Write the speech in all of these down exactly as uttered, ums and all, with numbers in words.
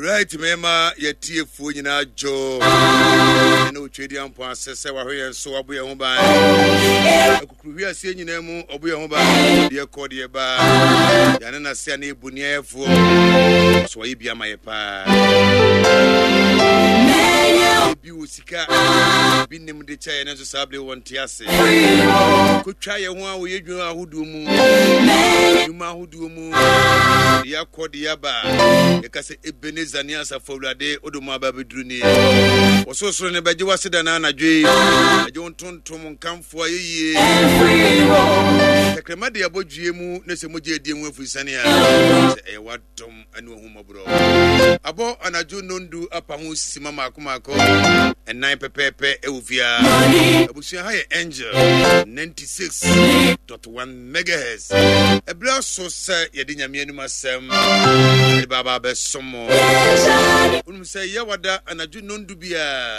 Right, mema yɛtiefoɔ nyinaa dwo ɛne otwadi ampɔ ase sɛ wahwɛ yɛn so, wabɔ yɛn ho ban akukuru wiaseɛ nyinaa mu, ɔbɔ yɛn ho ban deɛ kɔ deɛ ba yɛane nase a ne yɛbu nneɛyɛfoɔ so wɔyɛ bi ama yɛ paa. Ebi wɔ sika bi nim de kyɛ yɛn nso saa bere wɔn te ase kotwa yɛn ho a wɔyɛ dwuma ahodoɔ mu, nnwuma ahodoɔ mu, deɛ akɔ deɛ aba. Yɛka sɛ Ebenezer ne Asafo Awurade wode mu aba bɛduru nie. Wɔsorosoro ne bɛgye wase da no anadwo yi, bɛgye wo ntontom nkamfoɔ ayɛyie. Tɛkrɛma de abɔ dwie mu ne sɛ mogya adie mu afiri sane a sɛ ɛyɛ wadom ne wahummɔborɔ. Abɔ anadwo nondu apa ho sima maako maako ɛnan pɛpɛɛpɛ ɛwɔ fiaa. Abusua, ha yɛ Angel ninety-six point one megahertz. Ɛberɛ aso sɛ yɛde Nyame anim asɛm yɛde baaba bɛsom mo. Wonim sɛ yɛwada anadwo nondu biaa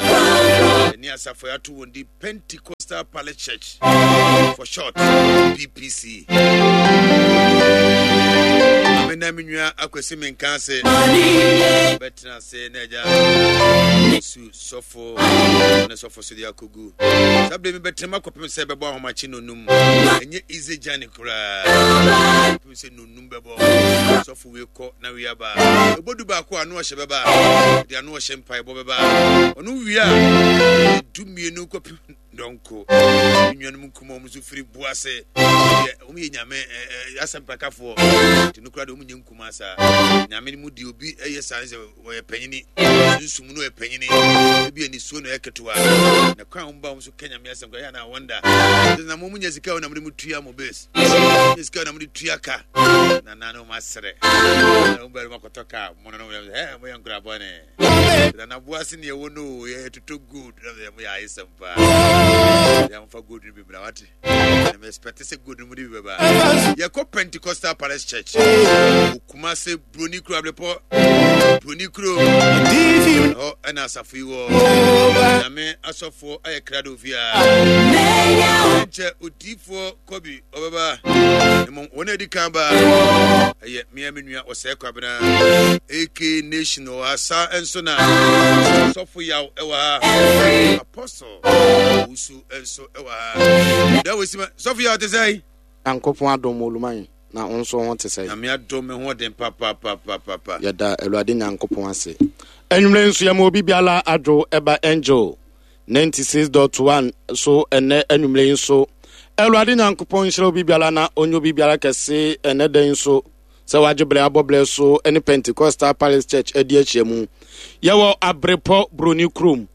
ɛne asafo yɛato wɔn di Pentecostal Palace Church, for short P P C. Ame na me nua Akwasi menka ase bɛtena ase na agya su sɔfo ne sɔfo so de akɔgu saa berɛ mi bɛtena mu akɔpem sɛ bɛbɔ ahomakye nonum. Ɛnyɛ easy journey koraa kɔpem sɛ nonum bɛbɔ. Sɔfo wei kɔ na wei aba, ɛbɔ du baako a ano ɔhyɛ bɛba, de ano ɔhyɛ mpaebɔ bɛba. Ɔno wie a, du mmienu kɔpem dɔnko, me nuanom nkuma ɔmo nso firi bu ase deɛ ɔmo yɛ Nyame asɛmpakafoɔ, nti no koraa deɛ ɔmo nyɛ nkuma saa. Nyame mu deɛ obi ɛyɛ saa sɛ wɔyɛ panyini, sunsum no yɛ panyini, ebi anisuo na ɛyɛ ketewa na kwan a wɔn ba wɔn so ka Nyame asɛm koraa yɛ ana wɔnda na mo nya sika na mo de mo tua mo base, nya sika na mo de tua ka na na no mo asrɛ na mo bɛrɛ mo akɔtɔ kaa mo no no ɛ mo yɛ nkura bɔne na na boase ne ɛwɔ no yɛ toto gold na mo yɛ ayesɛm paa yɛ mo fa gold no bi mra wate na mo expect sɛ gold no mo de bi bɛba. Yɛkɔ Pentecostal Palace Church, Okumase, Broni Kuro, Abrepɔ Broni Kuro ɛhɔ ɛna asafo yi wɔ. Nyame asɔfoɔ ayɛ krado fiaa nkyɛ odiifoɔ Kɔbi ɔbɛba. Mmom wɔn a adi kan ba ɛyɛ mmea, me nua Ɔsɛe Kwabena ak Nation wɔ ha, saa nso na Sɔfo Yaw ɛwɔ ha, Apostle Owusu nso ɛwɔ ha. Da wɔ sima Sɔfo Yaw te sɛ Nyankopɔn adom, Oluman, na wo nso ho te sɛ? Nyame adom, me ho ɔden papapapapa. Yɛda Awurade Nyankopɔn ase. Anwummerɛ nso yɛma obi biara adwo ɛba Angel ninety-six point one so. Ɛnɛ anwummerɛ yi nso Awurade Nyankopɔn nhyira obi biara na ɔnyɛ obi biara kɛse. Ɛnɛ da yi nso sɛ wagye berɛ abɔ berɛ so ne Pentecostal Palace Church adi ahyia mu. Yɛwɔ Abrepɔ Buroni kurom.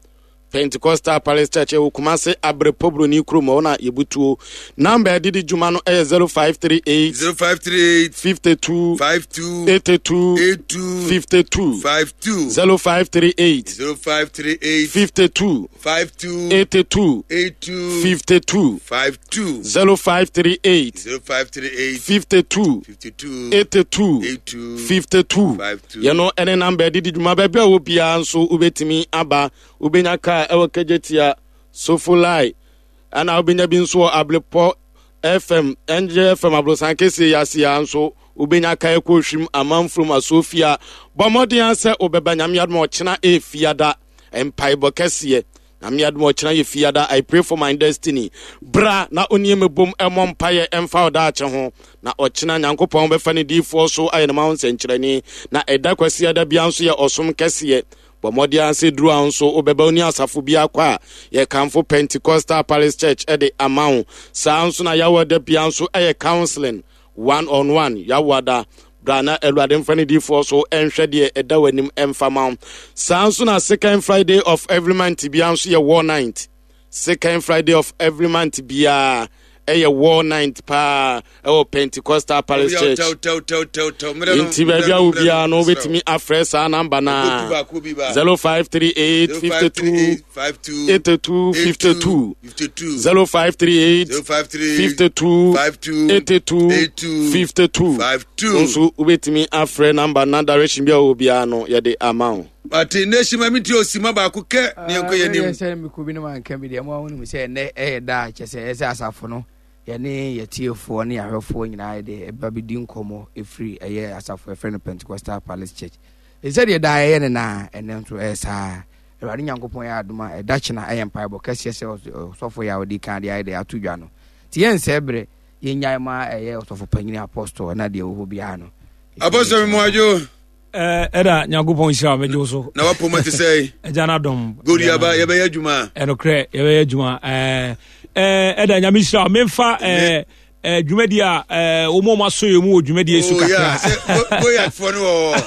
Pentecostal Palace Church ɛwɔ Kumase, Abrepɔ Buroni kurom hɔ na yɛbutuo. Number ɛde di dwuma no ɛyɛ zero five three eight zero five three eight fifty-two fifty-two eighty-two eighty-two fifty-two. fifty-two. zero five three eight zero five three eight fifty-two fifty-two eighty-two eighty-two fifty-two. fifty-two. zero five three eight zero five three eight fifty-two fifty-two eighty-two eighty-two fifty-two. fifty-two. Yɛno ɛne number ɛde di dwuma. Baabi a wɔ biara nso wobɛtumi aba. Wobɛnya kaa ɛwɔ Kegyetia Sofolai, ɛna wobɛnya bi nso wɔ Ablepɔ F M, N J F M aborosan kɛseɛ yi ase a nso wobɛnya kaa ɛkɔ Ohwim, Amanfurom, Asofia. Bɔ mmɔden a sɛ wobɛba. Nyame adom a ɔkyena ɛɛfiada mpaebɔ kɛseɛ. Nyame adom a ɔkyena yɛ fiada, I Pray for My Destiny. Bra na onie mebom ɛmmɔ mpayɛ ɛmfa ɔdaakye ho, na ɔkyena Nyankopɔn bɛfa ne diifoɔ so ayɛ ne ma ho nsɛnkyerɛnne. Na ɛda Kwasiada bia nso yɛ ɔsom kɛseɛ. Bɔ mmɔden ase duru a nso wobɛba wo ne asafo bi akɔ a yɛkamfo Pentecostal Palace Church ɛde ama wo. Saa nso na yɛawɔ bia nso ɛyɛ counseling one on one. Yɛawoada bra na Awurade mfa ne diifoɔ so ɛnhwɛ deɛ ɛda w'anim ɛmfa ma wo. Saa nso na second Friday of every month bia nso yɛ war night. Second Friday of every month biara ɛyɛ war night paa ɛwɔ Pentecostal Palace Church. Nti baabi a wo biara no wobɛtumi afrɛ saa number na zero five three eight fifty-two eighty-two fifty-two, zero five three eight fifty-two eighty-two fifty-two. Nso wobɛtumi afrɛ number na direction bi a wɔ biara no yɛde ama wo. Ate Nation, ma menti osima baako kɛ ne yɛnkɔ yɛ nim. Sɛ mekɔ bi no manka bi deɛ mo a wonim sɛ ɛnɛ ɛyɛ da a kyɛ sɛ ɛsɛ asafo no yɛne yɛtiefoɔ ne yɛahwɛfoɔ nyinaa yɛde ɛba bɛdi nkɔmmɔ ɛfiri ɛyɛ asafo ɛfrɛ no Pentecostal Palace Church. Sɛdeɛ daa ɛyɛ ne naa, ɛnɛ nso ɛyɛ saa. Awurade Nyankopɔn yɛ adom a, ɛda kyena ɛyɛ mpaebɔ kɛseɛ sɛ ɔsɔfo yɛ a ɔdi kan de ayɛ de ato dwa no. Nti yɛnsɛe berɛ, yɛnnyae ma ɛyɛ ɔsɔfo panyini Apostle na deɛ ɛwɔ hɔ biara no. Apostle Mmoadwo. Ɛda Nyankopɔn nhyira wo, megye wo so. Na wapoma te sɛ? Agya no adom. Gori aba, yɛbɛyɛ adwuma. Ɛnokorɛ, yɛbɛyɛ adwuma. Ɛda Nyame nhyira wo. Memfa dwumadi a wɔn a wɔasɔ yɛn mu wɔ dwumadi so kakra. Goyakfoɔ no wɔ hɔ.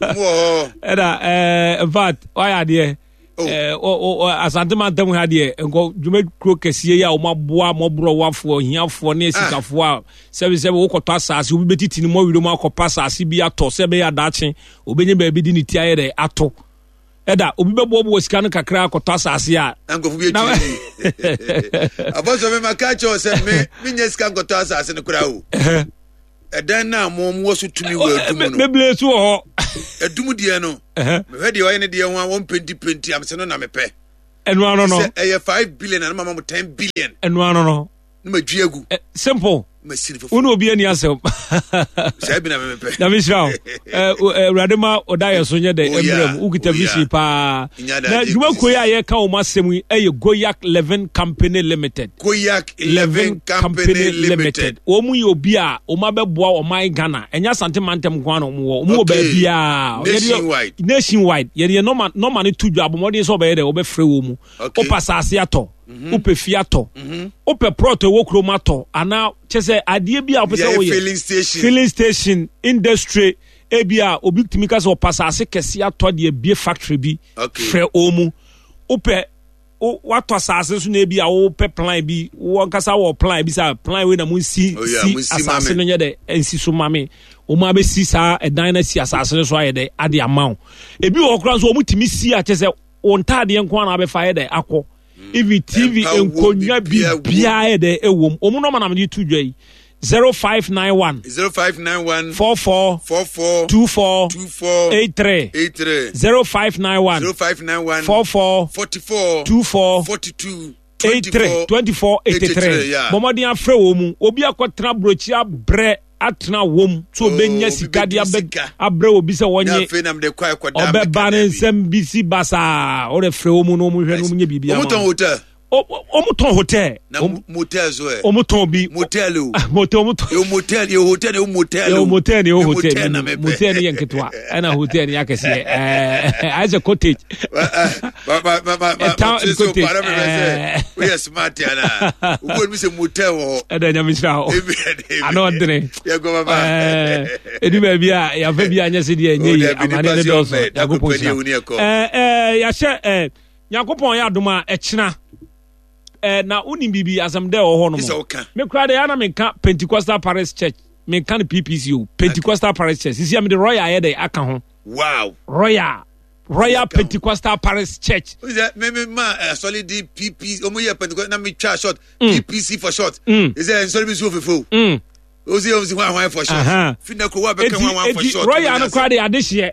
Wɔ hɔ. Ɛda, in fact, wayɛ adeɛ. Asante mantam ha deɛ nkɔ dwumakuro kɛseɛ yi a wɔn aboa mmɔborɔwafoɔ, hiafoɔ ne asikafoɔ a sɛbisɛbi wokɔtɔ asase, obi bɛtiti ne mmɔwerɛ mu akɔpa asase bi atɔ sɛ ɛbɛyɛ adaakye obɛnya baabi de ne ti ayɛ dɛ ato. Ɛda obi bɛboaboa sika no kakra akɔtɔ asase a na nkurɔfo bi atwi abɔsɔ me ma ka kyerɛ sɛ me menyɛ sika nkɔtɔ asase no koraa o. Ɛdan no a mo mo wɔ so tumi wɔ adum no bebree so wɔ hɔ. Adum deɛ no mehwɛ deɛ ɔyɛ ne deɛ ho a wɔn penti penti am sɛ no na mepɛ. Ɛnu ano no sɛ ɛyɛ five billion na mama mo ten billion. Ɛnu ano no na ma dwi agu. Simple. Ma si ne fufu. Wo ne obi ani asɛm. Saa bi na mepɛ. Na mehyira wo. Awurade ma ɔda yɛ so nyɛ dɛ mmerɛ mu. Wokita vision paa. Na dwumakuo yi a yɛka wɔn asɛm yi ɛyɛ Goyak Leven Company Limited. Goyak Leven Company Limited. Wɔn mu yɛ obi a wɔn abɛboa ɔman Ghana. Ɛnyɛ Asante mantam nko ara na wɔn wɔ. Wɔn wɔ baabiara. Nationwide. Nationwide. Yɛde yɛ nɔma nɔma no to dwa abɔmmɔden sɛ ɔbɛyɛ dɛ wɔbɛfrɛ wɔn mu. Wopɛ asase atɔ. Wopɛ fie atɔ. Wopɛ plot ɛwɔ kurom atɔ anaa kyɛ sɛ adeɛ bi a wopɛ sɛ woyɛ. Filling station. Filling station industry ebi a obi tumi ka sɛ ɔpɛ asase kɛse atɔ deɛ bie factory bi. Frɛ wɔn mu. Wopɛ watɔ asase nso na ebi a wopɛ plan bi wɔn kasa wɔ plan bi sɛ plan wei na mo nsi si asase no nyɛ dɛ nsi so ma me. Wɔn abɛsi saa ɛdan na si asase no so ayɛ dɛ ade ama wo. Ebi wɔ koraa nso wɔn tumi si akyɛ sɛ wɔn ntaadeɛ nko ara na abɛfa ayɛ dɛ akɔ. Even T V nkonnwa biribiara yɛ dɛ ɛwɔ mu. Wɔn nɔɔma na mede to dwa yi zero five nine one zero five nine one four four four four two four two four eight three eight three zero five nine one zero five nine one four four forty four two four forty two eight three twenty four eighty three. Bɔmmɔden afrɛ wɔn mu. Obi akɔtena aburokyi abrɛ atena wɔm so obenya sika de abrɛ obi sɛ wɔnye ɔbɛba ne nsɛm bi si basaa ɔde frɛ wɔn mu na wɔn hwɛ na wɔn nyɛ biribi ama wɔn. Wɔn tɔn hotel. Na motel so ɛ. Wɔn tɔn bi. Motel o. Motel wɔn tɔn. Yɛ motel yɛ hotel yɛ motel o. Yɛ motel yɛ hotel motel yɛ nketewa ɛna hotel yɛ akɛseɛ ɛɛ ayɛ sɛ cottage. Ba ba ba ba ba Town cottage. Ɛɛ. O yɛ smart yana. O ko mi sɛ motel wɔ hɔ. Ɛdɛ nyame sira hɔ. Ano ɔdene. Yɛ kɔ baba. Ɛɛ edu baabi a yafa bi a nyɛ se deɛ nyɛ yie amane ne dɔɔso Nyankopɔn sira. Ɛɛ ɛɛ yahyɛ ɛɛ Nyankopɔn yɛ adom a ɛkyena. Eh, na wonim biribi asɛm dɛ wɔ hɔ nom me koraa deɛ ana menka Pentecostal Parish Church, menka no P P C o, Pentecostal Parish Church sisi a mede Royal ayɛ dɛ aka ho. Wow. Royal Royal Pentecostal Parish Church. Me me ma asɔre di P P omo yɛ Pentecostal na me twa short P P C for short. Is nsɔre bi so ofefo. Osi osi hwan hwan for short. Fi na ko wa bɛka hwan hwan for short. Royal no koraa de adehyeɛ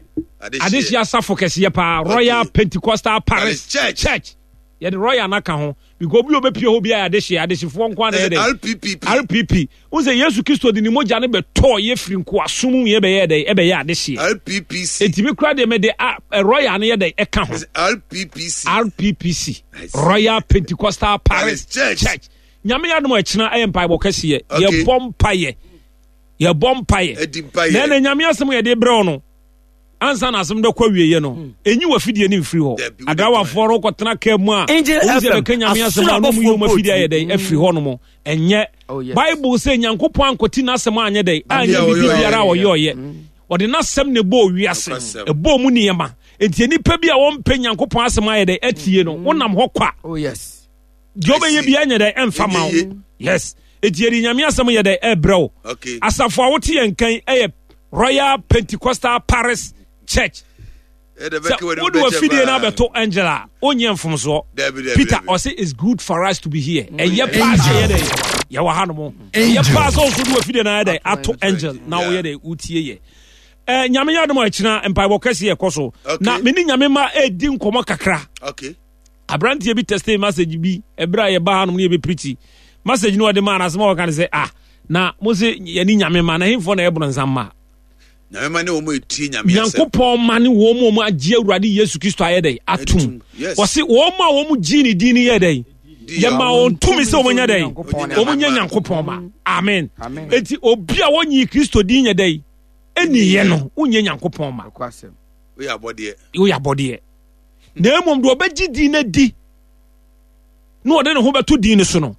adehyeɛ asafo kɛseɛ paa Royal Pentecostal Parish Church. Church. Yɛde Royal no aka ho because obi a obɛpie hɔ biara adehyeɛ adehyefoɔ nko ara na yɛ dɛ R P P P. R P P. Wo sɛ Yesu Kristo de ne mogya no bɛtɔɔ yɛ firi nkoasom mu yɛ bɛyɛ dɛ ɛbɛyɛ adehyeɛ. R P P C. Enti me koraa deɛ mede a Royal no yɛ dɛ ɛka ho. R P P C. R P P C. Royal Pentecostal Parish Church. Church. Nyame yɛ adom a ɛkyena ɛyɛ mpaebɔ kɛseɛ. Okay. Yɛbɔ mpaeɛ. Yɛbɔ mpaeɛ. Ɛdi mpaeɛ. Na ɛna Nyame asɛm yɛde brɛ wo no. Ansa na asɛm bɛkɔ awieɛ no, ɛnyi w'afidie no mfiri hɔ. Adrawafoɔ no kɔtena kaa mu a, Angel wɔn sɛ F M, bɛka Nyame asɛm a, na wɔn yi wɔn afidie ayɛ dɛn afiri hɔ nom. Ɛnyɛ. Oh, yes. Bible sɛ Nyankopɔn ankɔti n'asɛm anyɛ dɛn, anyɛ Adeɛ a biribi ɔyɛ, biara a ɔyɛ. ɔyɛ ɔyɛ. Ɔde n'asɛm na ɛbɔɔ wiase, Nokwasɛm. ɛbɔɔ mu nneɛma. Enti nnipa bi a wɔmpɛ Nyankopɔn asɛm ayɛ dɛn atie no, wonam hɔ kwa. Oh, yes. Deɛ ɔbɛyɛ bi anyɛ dɛn ɛmfa ma wo. Yes. Enti yɛde Nyame asɛm yɛ dɛn ɛbrɛ wo. Okay. Asafo a wote yɛn kan ɛyɛ Royal Pentecostal Parish Church. Sɛ wode wafidie no abɛto Angel a, wonyɛ mfomsoɔ. Peter ɔse it's good for us to be here. Ɛyɛ paa sɛ yɛ dɛn yɛwɔ ha nom. Ɛyɛ paa sɛ ɔso de wafidie no ayɛ dɛn ato Angel na woyɛ dɛn wotie yɛ. Eh, Nyame yɛ adom a ɛkyena mpaebɔ kɛse yɛkɔ so. Na me ne Nyame ma ɛdi nkɔmmɔ kakra. Okay. Aberanteɛ bi texte message bi ɛberɛ a yɛba hanom ne yɛbɛpirikyi. Message no ɔde maa no asɛm a ɔka ne sɛ ah na mo se yɛne Nyame ma na hemfoɔ na ɛboro nsam ma. Nyankopɔn ma ne wɔn mu wɔn agye Awurade Yesu Kristo ayɛ dɛ atum. Wɔsi wɔn a wɔn gye ne din yɛ dɛ yɛma wɔn tumi sɛ wɔn nyɛ dɛ wɔn nyɛ Nyankopɔn ma. Amen. Eti obi a wɔnyi Kristo din yɛ dɛ ɛni yɛ no wonyɛ Nyankopɔn ma. Woyɛ abɔdeɛ. Na mmom deɛ ɔbɛgye din no di na ɔde ne ho bɛto din no so no,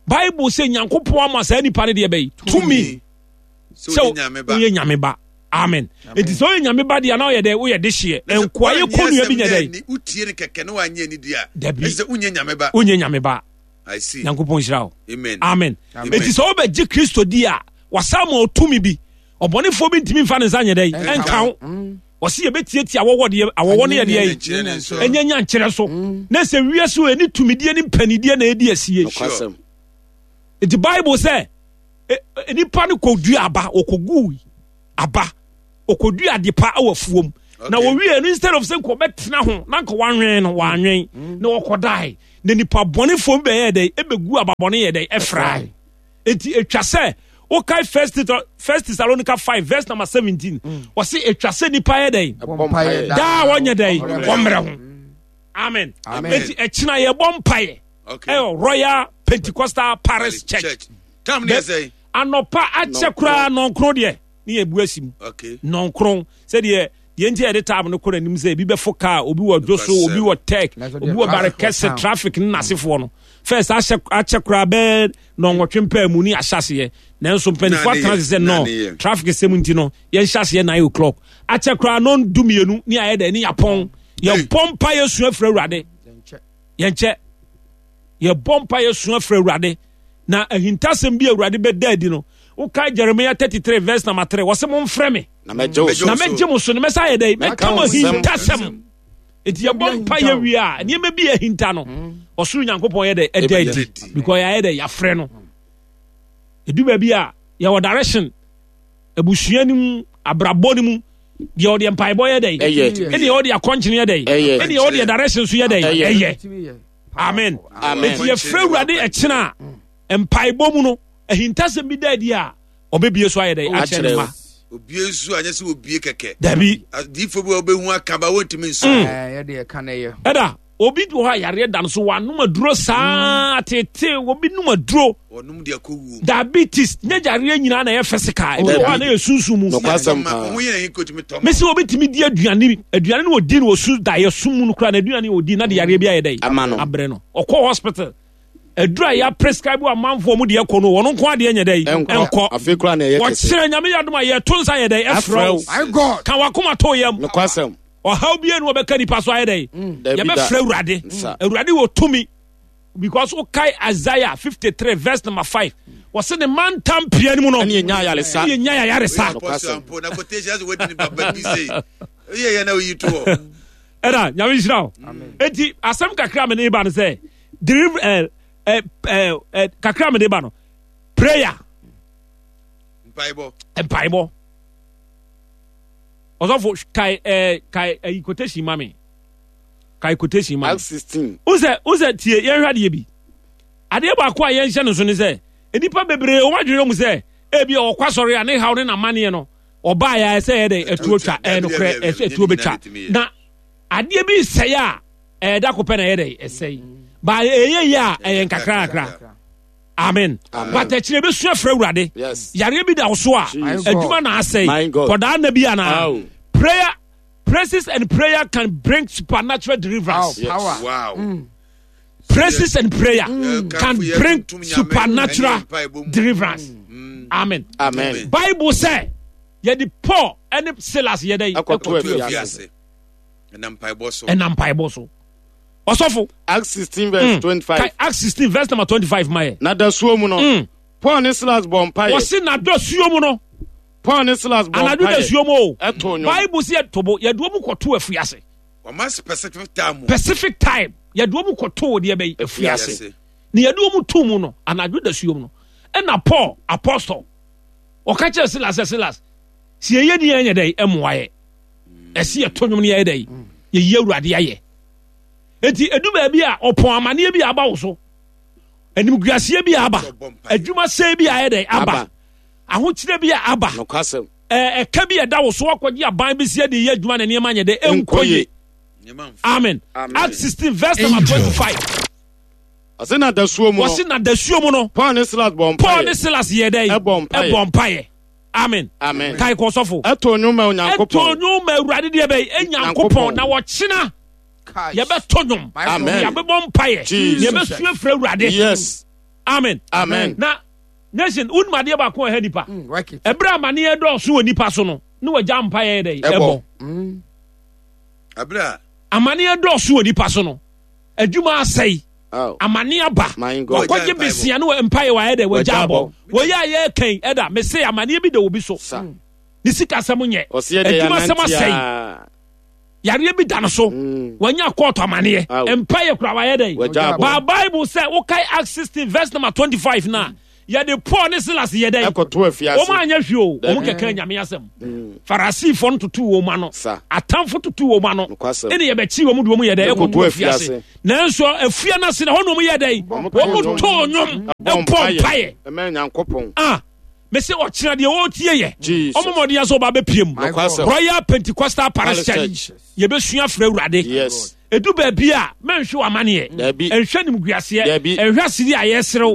Bible sɛ Nyankopɔn ama saa nipa no deɛ bɛyi tumi sɛ woyɛ Nyame ba. Amen. Enti sɛ woyɛ Nyame ba deɛ na woyɛ dɛ woyɛ dehyeɛ. Nkoa yɛ kɔnua bi nyɛ dɛ. Wotie no kɛkɛ na wanyɛ ne di a. Dabi. Ɛsɛ wonyɛ Nyame ba. Wonyɛ Nyame ba. I see. Nyankopɔn nhyira wo. Amen. Amen. Enti sɛ wobɛgye Kristo di a, wasa ma ɔtumi bi. Ɔbɔnefoɔ bi ntumi mfa ne nsa nyɛ dɛ ɛnka wo. Wɔsi yɛbɛtiatia awɔwɔ deɛ awɔwɔ no yɛ deɛ yi ɛnyɛ nyankyerɛ so na sɛ wiase wɔ ɛne tumidie ne mpanidie na ɛdi asie. Nti Bible sɛ nipa no kɔdua aba, ɔkɔgu aba, ɔkɔdua ade pa wɔ afuom na wɔwie no, instead of sɛ nka ɔbɛtena ho na nka wanwɛn no wanwɛn na ɔkɔdae na nipa bɔnefoɔ bi bɛyɛ dɛ ɛbɛgu aba bɔne yɛ dɛ ɛfrae. Enti etwa sɛ wokae First First Thessalonica five verse number seventeen. Wɔsi etwa sɛ nipa yɛ dɛn daa wɔnyɛ dɛn wɔmmerɛ ho. Amen. Enti ɛkyina yɛ bɔ mpaeɛ ɛwɔ Royal Pentecostal Parish Church. Anɔpa akyɛ koraa nɔnkron deɛ ne yɛ bu asi mu. Nɔnkron sɛdeɛ deɛ nti a yɛde taab no kɔ n'anim sɛ ebi bɛfo kaa, obi wɔ dwo so, obi wɔ tech, obi wɔ bare kɛse traffic ne n'asefoɔ no. First ahyɛ akyɛ koraa bɛɛ nɔnwɔtwe mpaa mu ne ahyɛ aseɛ, nanso mpanimfoɔ atena ase sɛ nɔ traffic sɛm nti no yɛnhyɛ aseɛ nine o'clock. Akyɛ koraa nɔn du mmienu ne ayɛ dɛ ne yɛapɔn. Yɛbɔ mpa yɛsua firi Awurade. Yɛnkyɛ. Yɛbɔ mpa yɛsua firi Awurade. Na ahintasɛm bi Awurade bɛda adi no, wokae Jeremiah thirty three verse number three, wɔsɛ momfrɛ me na mɛgye mo so na mɛsa ayɛ dɛ mɛka mo ahintasɛm. Enti yɛbɔ mpa yɛ wie a, nneɛma bi ahinta no, ɔsoro Nyankopɔn yɛ dɛ ɛda adi because yɛayɛ dɛ yɛafrɛ no. Edu baabi a yɛwɔ direction abusua no mu, abrabɔ no mu, deɛ ɔde mpaebɔ yɛ dɛ ɛne ɔde akɔnkyene yɛ dɛ ɛne ɔde direction so yɛ dɛ ɛyɛ. Amen. Enti yɛfrɛ Awurade ɛkyena a mpaebɔ mu no ahintasɛm bi da adi a ɔbɛbie so ayɛ dɛ akyerɛ ne ma. Obie nso anyɛ sɛ obie kɛkɛ. Dabi. Adiifo bi a wɔbɛhu aka ba wɔntumi nso. Ɛda obi wɔ hɔ a yareɛ da no so wanom aduro saa tete, obi nom aduro. Wɔnom de akɔ wuo. Diabetes nyɛ yareɛ nyinaa na ɛyɛ physical, ebi wɔ hɔ a na yɛ sunsun mu. Nokwasɛm paa. Mesi obi tumi di aduane, aduane no ɔdi no ɔsu da yɛ sum mu no koraa na aduane ɔdi na de yareɛ bi ayɛ dɛ ama no abrɛ no. Ɔkɔ hospital aduru a yɛ prescribe amanfoɔ mu deɛ kɔ no wɔn nko adeɛ nyɛ dɛ nkɔ. Afei koraa na ɛyɛ kɛse. Wɔkyerɛ Nyame yɛ adom a yɛto nsa yɛ dɛ ɛfrɛ wo. Ka wakoma to yam. Nokwasɛm. Ɔhaw bi enu ɔbɛka nipa so ayɛ dɛ. Yɛbɛfrɛ Awurade. Awurade wɔ tumi. Because wokae Isaiah fifty three verse number five, wɔse ne mantam pia no mu no ɛne yɛnya ayaresa. Ɛne yɛnya ayaresa. Ɛna Nyame nhyira wo. Enti asɛm kakra me ne ba no sɛ deliver eh, eh, eh, eh, kakra me ne ba no prayer, mpaebɔ, mpaebɔ. Ɔsɔfo kae eh, kae eh, quotation ma me. Kae quotation ma. Acts sixteen. Wosɛ wosɛ tie yɛnhwɛ adeɛ bi. Adeɛ baako a yɛnhyɛ no so ne sɛ nnipa bebree wɔn adwene mu sɛ ebi a ɔkɔ asɔre a ne haw ne n'amaneɛ no ɔbaa yɛ sɛ ɛyɛ dɛ ɛtuo twa ɛyɛ nokorɛ ɛsɛ ɛtuo bɛtwa na adeɛ bi sɛe a ɛyɛ da kopɛ na ɛyɛ dɛ ɛsɛe ba ɛyɛ yie a ɛyɛ nkakra kakra. Amen. But akyire bɛsua frɛ Awurade. Yareɛ bi da wo so a adwuma na asɛe kɔdaa nna bi anaa prayer. Praises and prayer can bring supernatural deliverance. Oh, power. Wow. Mm. Praises and prayer mm. can bring supernatural deliverance. Mm. Amen. Amen. Bible say, yɛde Paul and Silas yɛde ɛkɔto afiase. Ɛnam mpaebɔ so. Ɛnam mpaebɔ so. Ɔsɔfo. Acts sixteen verse mm. twenty-five. Acts sixteen verse number twenty-five mayɛ. Na dasuo mu no. Mm. Paul ne Silas bɔ mpaeɛ. Wɔsi na dasuo mu no. Paul ne Silas bɔ mpaeɛ. Anadwo dasuo mu o. Ɛto nnwom. Bible si yɛ tobo yɛde wɔn kɔto afiase. Wɔma specific time. Pacific time yɛde wɔn kɔto deɛ bɛyi afiase. Na yɛde wɔn to mu no anadwo dasuo mu no ɛna Paul apostle ɔka kyerɛ Silas sɛ Silas si yɛyɛ ni yɛnyɛ dɛ ɛmoa yɛ ɛsi yɛ to nnwom no yɛyɛ dɛ yɛyi Awurade ayɛ. Eti edu baabi a ɔpɔn amaneɛ bi aba wo so, animguaseɛ bi aba, adwuma sɛe bi ayɛ dɛ aba, ahokyerɛ bi a aba. Nokwasɛm. Ɛka bi ɛda wo so wakɔgye aban bi si de yɛ adwuma na nneɛma nyɛ dɛ ɛnkɔ yie. Amen. Acts sixteen verse number twenty-five. Ɔse na dasuo mu no. Ɔse na dasuo mu no. Paul ne Silas bɔ mpaeɛ. Paul ne Silas yɛ dɛ. Ɛbɔ mpaeɛ. Ɛbɔ mpaeɛ. Amen. Amen. Kae kɔ sɔfo. Ɛto nnwom ma Onyankopɔn. Ɛto nnwom ma Awurade deɛ bɛyi Enyankopɔn na wɔkyena. Yɛbɛto nnwom. Amen. Yɛbɛbɔ mpaeɛ. Yɛbɛsua frɛ Awurade. Yes. Amen. Amen. Na nation wonum adeɛ baako a ɛha nipa. Ɛberɛ amaneɛ dɔɔso wɔ nipa so no ne wɔgya mpaeɛ dɛ ɛbɔ. Ɛberɛ amaneɛ dɔɔso wɔ nipa so no adwuma asɛe. Amane aba wakɔgye besia no mpaeɛ wayɛ dɛ wagya abɔ wɔyɛ a yɛkɛn ɛda mese amaneɛ bi da obi so ne sika asɛm nyɛ adwuma asɛm asɛe yareɛ bi da no so wanya kɔɔto amaneɛ mpaeɛ kora wayɛ dɛ ba Bible sɛ wokae Acts sixteen verse number twenty-five na yɛde Paul ne Silas yɛ dɛ wɔn anyɛ hwee o wɔn kɛkɛ nyame asɛm Farisifoɔ no tutu wɔn ano atamfo tutu wɔn ano ɛna yɛbɛkyi wɔn de wɔn yɛ dɛ ɛkɔto afiase nanso afia no ase na hɔ na wɔn yɛ dɛ wɔn too nnwom ɛbɔ mpaeɛ ah mese ɔkyerɛ deɛ wɔretie yɛ ɔmo mɔden asɛ ɔba bɛpie mu Royal Pentecostal Parish Church yɛbɛsua frɛ Awurade. Edu baabi a mɛnhwɛ w'amaneɛ ɛnhwɛ nimguaseɛ ɛnhwɛ asiri a yɛserew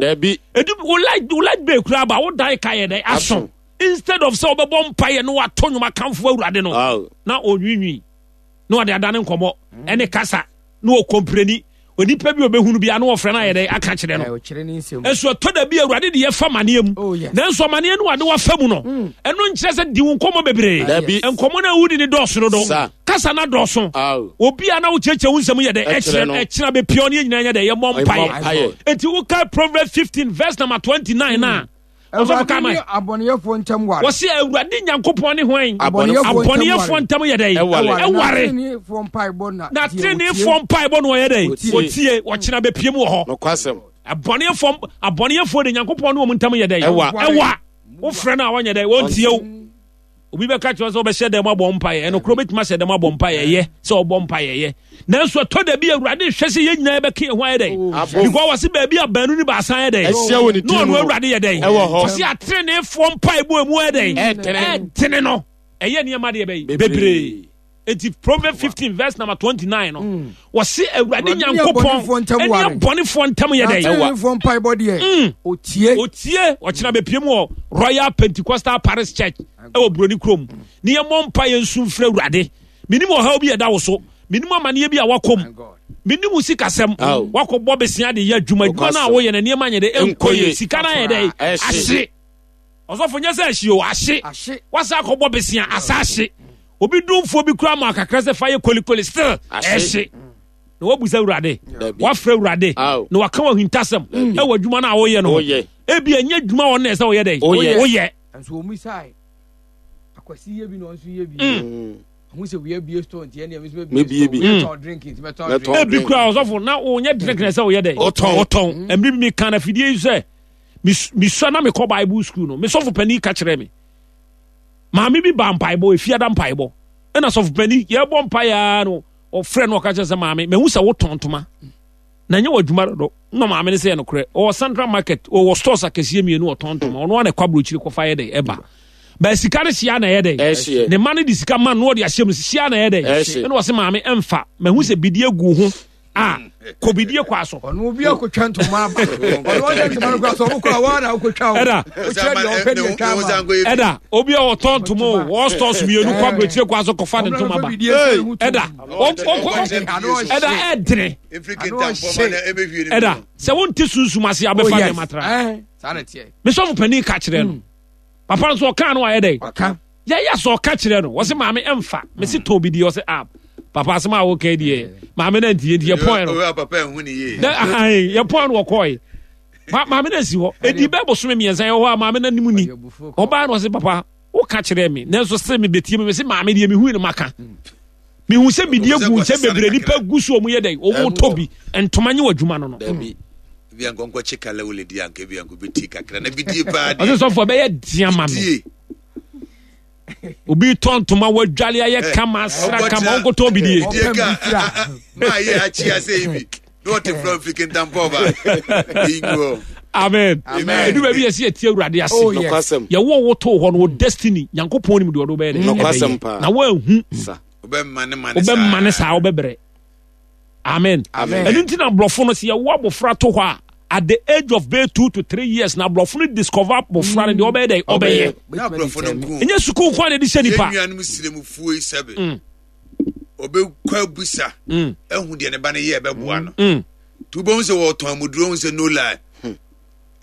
edu wo light wo light bɛɛ kura aba wo dan ka yɛ dɛ aso instead of sɛ ɔbɛbɔ mpaeɛ no wato nnwom akamfo Awurade no na ɔnwiinwii na ɔde adane nkɔmmɔ ɛne kasa na ɔkɔmpreni onipa bi obɛhunu bi ano ɔfrɛ no ayɛ dɛ aka kyerɛ no ɛso ɛtɔ da bi Awurade de yɛfa amaneɛ mu nanso amaneɛ no wade wafa mu no ɛno nkyerɛ sɛ di wo nkɔmmɔ bebree nkɔmmɔ no a wodi ne dɔɔso no do kasa na dɔɔso obi a na wokyerɛkyerɛ wo nsɛm yɛ dɛ ɛkyerɛ ɛkyerɛ bɛpia ne nyinaa yɛ dɛ yɛmmɔ mpaeɛ enti wokae Proverbs fifteen verse number twenty-nine na ɔsɔfo kama abɔneyɛfoɔ ntam ware wɔse Awurade Nyankopɔn ne hwan abɔneyɛfoɔ ntam yɛ dɛ ɛware na teneneefoɔ mpaebɔ no ɔyɛ dɛ wɔtie wɔkyena bɛpie mu wɔ hɔ abɔneyɛfoɔ abɔneyɛfoɔ de Nyankopɔn ne wɔn ntam yɛ dɛ ɛwa wofrɛ no a wɔnyɛ dɛ wɔntie wo obi bɛka kyerɛ sɛ wobɛhyɛ dɛm abɔ mpaeɛ ɛno koro bɛtumi ahyɛ dɛm abɔ mpaeɛ ɛyɛ sɛ ɔbɔ mpaeɛ ɛyɛ nanso ɛtɔ da bi Awurade hwɛ sɛ yɛn nyinaa yɛbɛka yɛn ho ayɛ dɛn because wɔse baabi a baanu ne baasa ayɛ dɛn na ɔno Awurade yɛ dɛn wɔse ateneneefoɔ mpaebɔ emu ayɛ dɛn ɛtene no ɛyɛ nneɛma deɛ bɛyi bebree enti Proverbs fifteen verse number twenty-nine no wɔse Awurade Nyankopɔn ɛne abɔnefoɔ ntam yɛ dɛn ateneneefoɔ mpaebɔ deɛ otie otie ɔkyena bɛpie mu wɔ Royal Pentecostal Parish Church ɛwɔ Buroni kurom ne yɛmmɔ mpaeɛ nsu mfrɛ Awurade menim ɔhaw bi ɛda wo so menim amaneɛ bi a wakɔm menim wo sikasɛm wakɔbɔ besia de yɛ adwuma adwuma no a woyɛ no nneɛma nyɛ dɛ ɛnkɔ yie sika no ayɛ dɛ ahye ɔsɔfo nyɛ sɛ ahye o ahye wasa akɔbɔ besia asa ahye obi dumfoɔ bi kura ma akakra sɛ fa yɛ kolikoli still ɛhye na wabusa Awurade wafrɛ Awurade na waka wɔ ahintasɛm ɛwɔ adwuma no a woyɛ no ebi ɛnyɛ adwuma wɔ no ɛsɛ woyɛ dɛ woyɛ nso wɔn sae akwasi yɛ bi na ɔnso yɛ bi ɔho sɛ wia bie store nti ɛnna ɛmi nso bie bi tɔn drink nti mɛ tɔn drink ebi kura ɔsɔfo na ɔnyɛ drink na ɛsɛ ɔyɛ dɛ ɔtɔn ɛmiri bi mi kan na fidie yi sɛ misua na mi kɔ Bible school no mi sɔfo panyin ka kyerɛ mi maame bi ba mpaebɔ efiada mpaebɔ ɛna sɔfo panyin yɛ bɔ mpaeɛ no ɔfrɛ no ɔka kyerɛ sɛ maame mɛ hu sɛ wotɔn ntoma na nyɛ wɔ adwuma dodo na maame ne sɛ yɛ nokorɛ ɔwɔ Central Market ɔwɔ stores akɛseɛ mmienu ɔtɔn ntoma ɔno ana ɛkɔ aburokyire kɔfa yɛ dɛ ɛba bɛɛ sika no hyia na ɛyɛ dɛ ne ma no de sika ma no ɔde ahyɛ mu hyia na ɛyɛ dɛ ɛna ɔsɛ maame ɛmfa mahu sɛ bidie gu ho a kɔ bidie kɔ aso ɔno obi akotwa ntoma aba ɔno ɔhyɛ ntoma no kɔ aso ɔmo kɔ a wɔn na akotwa o ɛda ɛda obi a ɔtɔn ntoma o wɔ stores mmienu kɔ aburokyire kɔ aso kɔfa ne ntoma ba ɛda ɛda ɛdene ɛda sɛ wonte sunsum ase abɛfa nneɛma tra mesɔfo panin ka kyerɛ no papa nso ɔka no ayɛ dɛ yɛyɛ sɛ ɔka kyerɛ no wɔse maame ɛmfa mese tɔn bi deɛ ɔsɛ ah papa asɛm a woka deɛ maame no antie nti yɛpɔn no yɛpɔn no wɔkɔe maame no asi hɔ ɛdi bɛ bosome mmiɛnsa yɛwɔ hɔ a maame no anim ni ɔbaa no ɔse papa woka kyerɛ me nanso sɛ mebɛtie me mese maame deɛ mehui no maka mehu sɛ bidie gu nkyɛn bebree nipa gu so ɔmo yɛ dɛ ɔmo tɔ bi ntoma nye wɔ adwuma no no. Bi anka nkɔkye kala wole di anka bi anka bɛti kakra na bidie paa deɛ. Ɔsɛ sɔfo ɛbɛyɛ diɛ ma me. Obi tɔ ntoma wadwale ayɛ kama asra kama ɔnkɔtɔ bidie. Bidie ka maa yɛ akyi ase yi bi na ɔte fura mfiri kentampɔ ba. Amen. Amen. Edu baabi yɛsi yɛtie Awurade ase. Oh, yes. Nokwasɛm. Yɛwɔ wo too hɔ no wo destiny Nyankopɔn nim deɛ ɔde wobɛyɛ dɛ. Nokwasɛm Ɛbɛyɛ. paa. Na woanhu Sa. Wobɛma ne ma ne wobɛma ne saa wobɛbrɛ. Amen. Amen. Ɛno nti na aborɔfo no sɛ yɛwo abɔfra to hɔ a at the age of bɛyɛ two to three years na aborɔfo no discover abɔfra no deɛ ɔbɛyɛ dɛ ɔbɛyɛ. Na aborɔfo no nko. Ɛnyɛ sukuu nko a na yɛde hyɛ nipa. Yɛn nuanom srɛmufuo yi sɛbe. Mm. Ɔbɛkɔ abusa. Mm. Ɛhu deɛ ne ba no yɛ ɛbɛboa no. Mm. Tu bɛhu sɛ wɔtɔn amuduro hu sɛ no lie.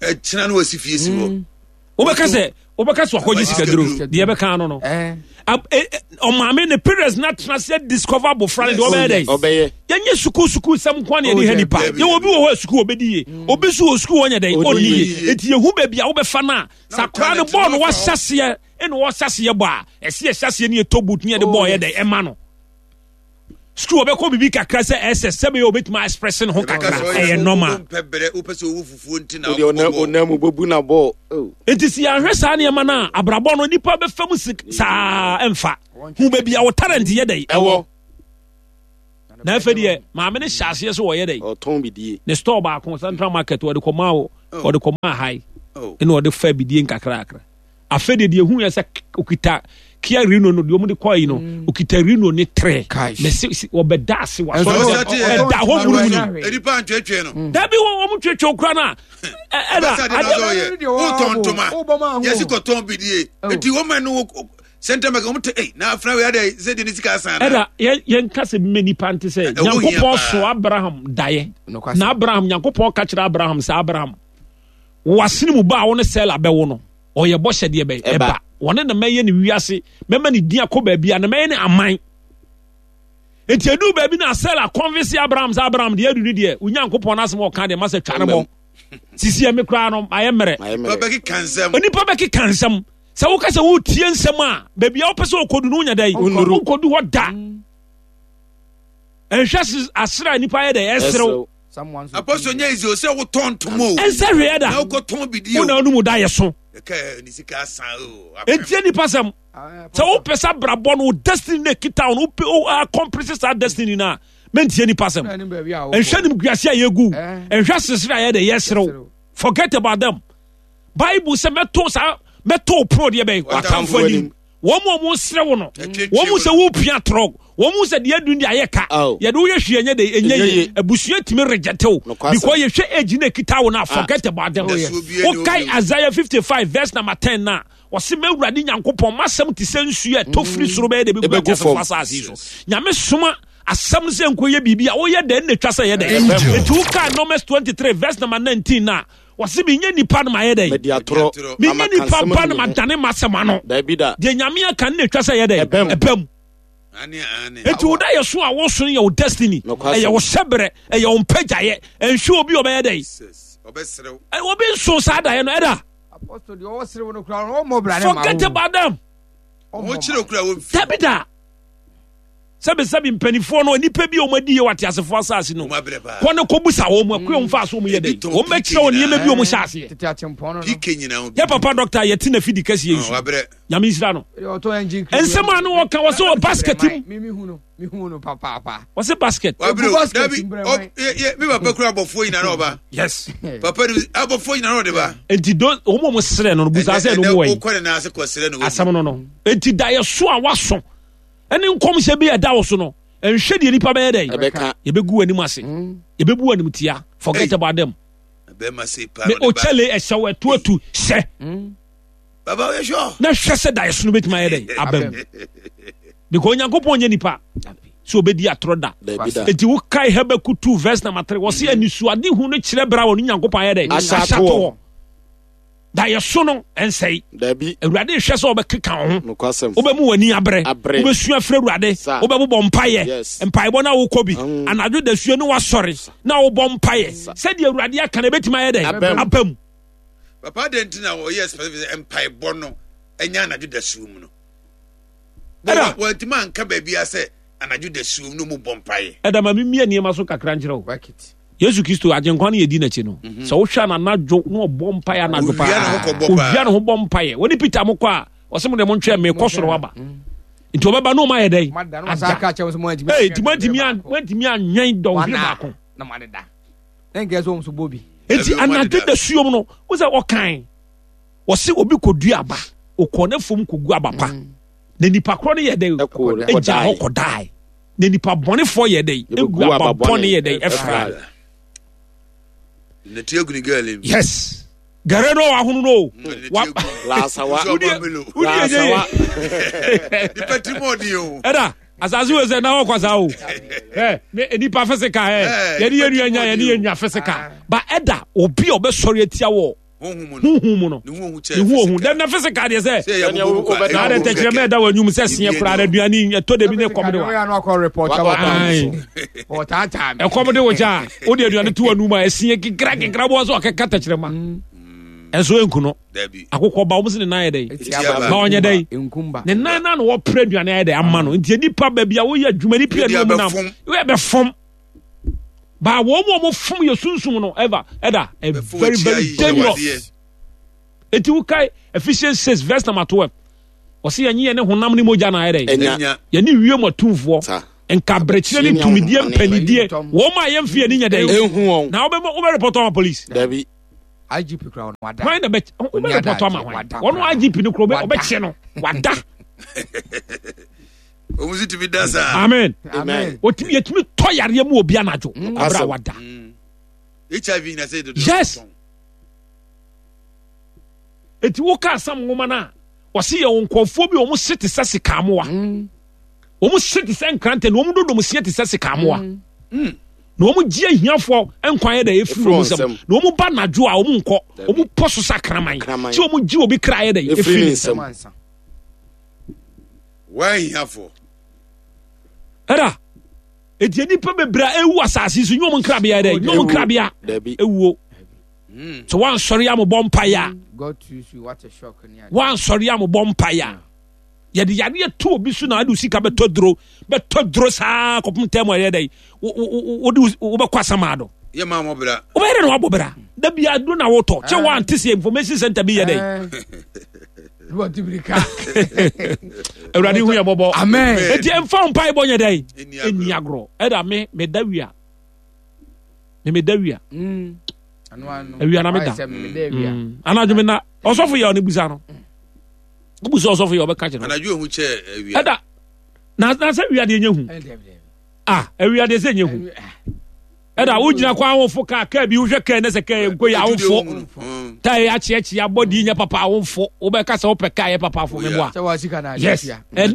Ɛkyena no wɔsi fie si hɔ. Wobɛka sɛ wobɛka sɛ wakɔgye sikaduro deɛ ɛbɛka no no. Eh. Ab- eh, eh, ɔmaame ne parents na tena se discover abɔfra no deɛ ɔbɛyɛ dɛ. Ɔbɛyɛ. Yɛnyɛ sukuu sukuu sɛm nko a na yɛde Oh, ha yeah, nipa. yeah, yeah. Yɛwɔ obi wɔ hɔ a sukuu ɔbɛdi yie. Obi nso wɔ sukuu ɔnyɛ dɛn Ɔnni ɔnni yie. yie. Eti yɛhu baabi a wobɛfa no a sakora no talent bɔɔl no no wahyɛ aseɛ ɛna wɔhyɛ aseɛ bɔ a ɛsi yɛhyɛ aseɛ ne yɛtɔ boot ne yɛde Oh, bɔɔl yɛ yes. dɛn ɛma no. Sukuu ɔbɛkɔ biribi kakra sɛ ɛsɛ sɛbɛyɛ obɛtumi express ne ho Ɛbɛka kakra sɛ ɔyɛ ɛyɛ sɛ normal. wompɛ brɛ wopɛ sɛ wowu fufuo nti na Wode ɔnam wokɔbɔ. ɔnam mu bɛbu na bɔɔl. Oh. Nti sɛ yɛahwɛ saa nneɛma no a abrabɔ no nipa bɛfa mu si saa ɛmfa hu baabi a wo talent yɛ dɛn Ɛwɔ. Na afei deɛ maame no hyɛ aseɛ sɛ wɔyɛ dɛn Ɔtɔn bidie. ne store baako Central Market wɔde kɔmaa wo Oh. wɔde kɔmaa hae Oh. ɛna ɔde fa bidie nkakrakra. Afei deɛ deɛ ehu yɛ sɛ okita Kia Reno no deɛ wɔn de kɔɔ yi no okita Reno ne trɛ Cash. mɛsi si ɔbɛda ase wa Ɛnso sɔrɔ ɔsɛ ɔte- ɛda hɔ munumunu Nnipa ntwetwe no. dabi wɔn wɔn twetwe okura na ɛ ɛda Bɛsa de na adeɛ sɛ ɔyɛ. Wotɔn ntoma. Yɛsi kɔtɔn bidie. Oh. Eti wɔn ma no wɔ- Central Market wɔn te ɛy na afra wei adɛ sɛ de ne sika asan na. ɛda yɛn yɛn kasa bi mɛ nipa nte sɛ Ɛho hia Nyankopɔn paa. so Abraham daeɛ Nokwasɛm. na Abraham Nyankopɔn ka kyerɛ Abraham sɛ Abraham wasene mu ba a wɔne Sela bɛwo no ɔyɛ bɔhyɛ deɛ bɛyɛ Ɛba. ɛba wɔne na mɛyɛ ne wiase mɛma ne din akɔ baabi a na mɛyɛ ne aman nti edu baabi na Sela convince Abraham sɛ Abraham deɛ adu ne deɛ Onyankopɔn n'asɛm a ɔka deɛ ma sɛ twa ne bɔ sisi ɛmi koraa no ayɛ mmerɛ Mayɛ mmerɛ. Ɔbɛkeka nsɛm. onipa bɛkeka nsɛm sɛ woka sɛ wotie nsɛm a baabi a wopɛ sɛ wokɔdu no wonya dɛn Wonnuru. wonkɔdu hɔ da ɛnhwɛ se- asere a nipa yɛ dɛ ɛserew Someone's Apostle nyɛ easy o sɛ wotɔn ntoma o. ɛnsɛ hwee da Na wokɔtɔn bidie wo na o. wonom da yɛ so Ɛka ne sika asan o. ɛntie nipa sɛm sɛ wopɛ sɛ abrabɔ no wo destiny no ɛkita wo no wopɛ wo accomplish saa destiny no a mɛntie nipa sɛm ɛnhwɛ nimguase a yɛgu Eh. ɛnhwɛ sesere a yɛdɛ yɛserew Yɛserew. Forget about them. Bible sɛ mɛto saa mɛto wo pono deɛ bɛn watamfo anim wɔn mu a wɔn srɛ wo no Ɛtwetwe wɔn mu wo. sɛ wopia torɔ wɔn mu sɛ deɛ adu deɛ ayɛ ka Aw. yɛde woyɛ hwee ɛnyɛ de ɛnyɛ Ɛnyɛ yie yie. abusua tumi reject wo Nokwasɛm. because yɛhwɛ age na ekita wo na forget about them. Oh, yes. Wokae Isaiah fifty five verse number ten na wɔsi mɛwurade Nyankopɔn masɛm te sɛ nsuo a ɛtɔ firi soro bɛyɛ de bɛgu Ɛbɛgu ateasefoɔ fam. asase yi so. Nyame soma asɛm sɛ nkɔyɛ biribi a woyɛ dɛn na etwa sɛ yɛ dɛn. Angel. Eti wokae Numbers twenty three verse number nineteen na wɔsi mi nye nipa no ma yɛ dɛn Mɛdi atorɔ. Mɛdi atorɔ. mi Na nye maka nipa nsɛm ba no agu ma me ho. dane ma asɛm ano Dabi da. deɛ Nyame aka no na etwa sɛ yɛ dɛn Ɛbɛm. ɛbɛm. Ane ane. Eti wo da yɛ so a woso no yɛ wo destiny Nokwasɛm. ɛyɛ wo hyɛbrɛ ɛyɛ wo mpagyaeɛ ɛnhwɛ obi a ɔbɛyɛ dɛn Jesus. Ɔbɛserew. Ɛ, obi nso saa daeɛ no ɛda Apostle deɛ ɔwɔ serew no koraa ɔmmɔ bra ne ma forget wo. about them. Ɔmmɔ Wɔn kyerɛ ma. okura wɔn fi. Dabi da sɛbisɛbi mpanimfoɔ no nipa bi a wɔn adi yɛ wɔ ateasefoɔ asase no Wɔn abrɛ paa. kɔ ne kɔ busa wɔn mu akua wɔn fa so wɔn yɛ Ebi dɛ tɔn wɔn bɛkyerɛ wɔn nneɛma bi a wɔn hyɛ aseɛ. Tete atempɔn no no. P K nyinaa obi. Yɛ papa dɔkta yɛte na fidi kɛseɛ yi Ɔn, so wabrɛ. Nyame nhyira no. Deɛ ɔtɔ engine cream. Nsɛm a no wɔka wɔ sɛ wɔ basket mu Me me hu no me hu no papaapa. wɔ sɛ basket. Wabrɛ o. Basket Dabi. mbrɛ Ɔ man. yɛ yɛ mi papa kura abɔfoɔ nyinaa na ɔba. Yes. Papa ni abɔfoɔ nyinaa na ɔde ba. Nti do wɔn a wɔn srɛ no no busa sɛ ɛno mu wɔ yi Wokɔ ne nan ase kɔ srɛ no. Asɛm no no nti da yɛ so a waso ɛne nkɔmhyɛ bi a ɛda wo so no nhwɛ deɛ nipa bɛyɛ dɛ Ɛbɛka. yɛbɛgu w'anim ase yɛbɛbu w'anim tia forget Hey. about them. Bɛrima se paa. Me Na ɔde ba. okyɛle ɛhyɛ wo ɛto atu hyɛ Baba oyɛ sure. na hwɛ sɛ da yɛ so no bɛtumi ayɛ dɛ aba mu because Onyankopɔn nyɛ nipa sɛ obɛdi atorɔ da. Dabi da. Enti wokae Habakuk two verse number three wɔse anisoade hu no kyerɛ berɛ a wɔne Nyankopɔn ayɛ dɛ Ahyɛ ahyɛ atoɔ. atoɔ da yɛ so no ɛnsɛe. Dabi. Awurade hwɛ sɛ wobɛkeka wo ho Nokwasɛm. wobɛmu w'ani abrɛ Abrɛ. wobɛsua frɛ Awurade Sa. wobɛbobɔ mpayɛ Yes. mpaebɔ no a wokɔ bi Mm. anadwo dasuo ne woasɔre na wobɔ mpayɛ sɛdeɛ Awurade aka no ɛbɛtumi ayɛ dɛn Aba mu. aba mu. Papa de nti na ɔyɛ specific sɛ mpaebɔ no ɛnyɛ anadwo dasuo mu no. Ɛda. Wɔntumi anka baabi a sɛ anadwo dasuo mu no mu bɔ mpaeɛ. Ɛda ma memia nneɛma so kakra nkyerɛ wo. Work it. Yesu Kristo agyenkwa no yɛdi n'akyi no sɛ wohwɛ no anadwo na ɔbɔ mpaeɛ anadwo Owia paa ne ho kɔbɔ paa. owia ne ho bɔ mpaeɛ wɔne Peter mo kɔ a ɔsɛ mo deɛ montwɛ mekɔ soro aba nti ɔbɛba na ɔma yɛ dɛn Mada no wasa aka kyerɛ wo sɛ mo antumi. Ee, nti moantumi an- moantumi anwɛn dɔnhwere Wana. baako Na mo adeda. Na nkɛ sɛ wɔn nso bɔ bi. Enti anadwo da suom no wo sɛ ɔkan ɔse obi kɔdua aba ɔkɔ ne fam kɔgu aba pa mm. Na nipa korɔ no yɛ dɛ ɛgya hɔ kɔdae na nipa bɔnefoɔ yɛ dɛ ɛgu aba bɔne yɛ dɛ ɛfra. Yes, gare no ahono no ɛda asase wo sɛ na wɔkɔ saa o ɛ ne nipa fisika ɛ yɛne yɛ nua nya yɛne yɛ nua fisika ba ɛda obi a ɔbɛsɔre atia wɔ huhu mu no ne ho ohu dɛm na fisika deɛ sɛ na adɛ tɛkyerɛmɛ ɛda wɔ anwum sɛ seɛ koraa na aduane ɛtɔ da bi ne kɔm de wa ɛkɔm de wo kyɛ a wode aduane to w'anum a ɛseɛ kekra kekra bɔ sɛ ɔkɛka tɛkyerɛma ɛnso ɛnku no akokɔ ba wɔn sɛ ne nan yɛ dɛ ba ɔnyɛ dɛ ne nan na na wɔpere aduane ayɛ dɛ ama no nti nipa baabi a woyɛ adwuma nipa yɛ ne wɔn nam woyɛ bɛ fam ba wɔn mu a wɔn fam yɛ sunsun no ɛva ɛda ɛ very very dangerous. Eti wokae Ephesians six verse number twelve ɔsi yɛn yɛ ne honam ne mogya na ayɛ dɛ yɛne wiem atumfoɔ nkaberekyerɛ ne tumidie mpanidie wɔn a yɛn fi yɛn ni nyɛ dɛ na wobɛ wobɛ report ama police. Dabi. I G P kura wɔn wada. Hwan na bɛ wobɛ report ama hwan wɔn I G P no kura ɔbɛ ɔbɛkyɛ no wada. Wɔn nso tumi da saa. Amen. Amen. Otumi yɛtumi tɔ yareɛ mu obi anadwo abira wada. H I V na sɛ dodo. Yes. Eti woka asam nwoma no a wɔsi yɛ wɔn nkurɔfoɔ bi wɔn se te sɛ sikamoa. Wɔn se te sɛ nkrantɛ na wɔn dodom seɛ te sɛ sikamoa. Na wɔn gye ahiafoɔ nkwa yɛ dɛ efiri wɔn nsam na wɔn ba anadwo a wɔn nkɔ wɔn pɔ so sɛ akraman tí wɔn gye obi kra yɛ dɛ efiri ne nsam. Wɔn ahiafoɔ. Ɛda eti nipa bebree a ewu asase so nye wɔn nkrabea yɛ dɛ nye wɔn nkrabea ewuo so wansɔre a mo bɔ mpaeɛ a wansɔre a mo bɔ mpaeɛ a yɛde yadeɛ to obi so na ade sika bɛtɔ duro bɛtɔ duro saa kɔpem tɛm a ɛyɛ dɛ wode wobɛkɔ asama do wobɛyɛ dɛ na wabɔ bra da bia duro na wotɔ kyɛ woante sɛ information center bi yɛ dɛ awurade hu yɛ bɔbɔ enti ɛmfa wo mpaebɔ nyɛ dɛ ɛnni agorɔ ɛda me meda wia me meda wia awia na meda anadwo me na ɔsɔfo yɛ ɔne busa no wobu sɛ ɔsɔfo yɛ ɔbɛka kyerɛ anadwo ehu kyɛ awia ɛda na na sɛ awia deɛ nyɛ hu ah awia deɛ sɛ nyɛ hu ɛda wogyina kɔ awofo kaa kaa bi wohwɛ kaa ne sɛ kaa nko yɛ awofo taa yɛ akyeakyea abɔdi nyɛ papa awofo wobɛka sɛ wopɛ kaa yɛ papa afo meboa yes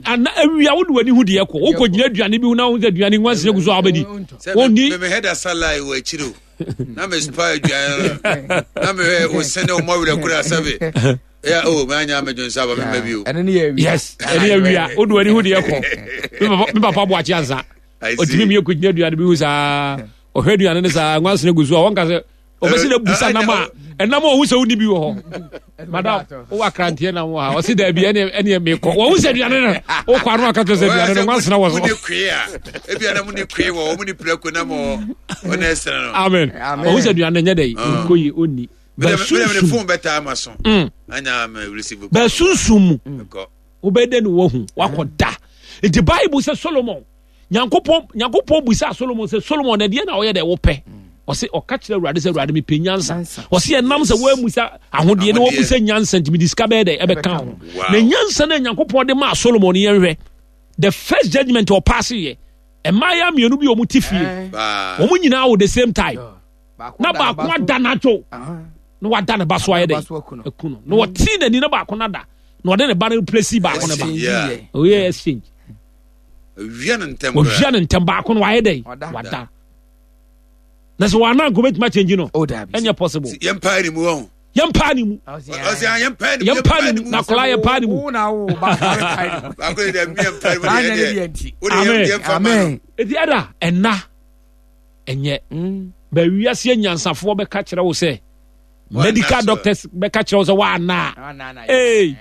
ana awia wode w'ani hu deɛ kɔ wokɔ gyina aduane bi ho na wohu sɛ aduane nwansena gu so a wobɛdi wonni mehɛda salai wɔ akyiri o na mespa aduane no na mehwɛ osene ɔmɔ werɛ kora sɛbe ya o mɛ anya mɛ jɔn sábà mɛ mɛ bi o. Ɛne ne yɛ awia. Yes, ɛne yɛ awia o do ɛne ho deɛ kɔ mi papa mi papa bu akyi ansa otumi mi yɛ ko gyina aduane bi ho saa ɔhwɛ aduane ne saa nwansena gu so a wɔn ka sɛ ɔbɛsi na busa nam a ɛnam a ɔho sɛ wonni bi wɔ hɔ madam wowɔ akranteɛ nam wɔ ha ɔsi daabi ɛne ɛne mekɔ wɔn ho sɛ aduane no wokɔ ano aka kyerɛ sɛ aduane no nwansena wɔ so. Mo ne kwee a ebi anam ne kwee wɔ wɔn ne prako nam wɔ wɔn ɛsɛn no. Amen wɔn ho sɛ aduane no nyɛ dɛ nkɔ yi ɔnni. Bɛsunsum bɛsunsum mu wobɛdɛ ne wahu wakɔ da nti Bible sɛ Solomon Nyankopɔn Nyankopɔn busa Solomon sɛ Solomon na deɛ na ɔyɛ dɛ wopɛ ɔse ɔka kyerɛ Awurade sɛ Awurade mepɛ nyansa ɔse ɛnam sɛ woamusa ahodeɛ na woamusa nyansa nti mede sika bɛyɛ dɛ ɛbɛka ho na nyansa no Nyankopɔn de maa Solomon yɛnhwɛ the first judgment ɔpaase yɛ mmaayɛ mmienu bi a wɔn ti fie wɔn nyinaa wɔ the same time na baako ada n'adwo na wada ne ba so ayɛ dɛ aku no na wɔtee n'ani na baako no ada na ɔde ne ba no plesi baako no ba ɔyɛ exchange ɔwia ne ntɛm baako no wayɛ dɛ wada na sɛ wɔana nka obɛtumi akyɛngyi no ɛnyɛ possible yɛmpaa ne mu ɔho yɛmpaa ne mu yɛmpaa ne mu na akwadaa yɛmpaa ne mu amen eti ɛda ɛna ɛnyɛ mm. Bɛ wiase anyansafoɔ bɛka kyerɛ wo sɛ medical doctors bɛka kyerɛ wo sɛ woana ee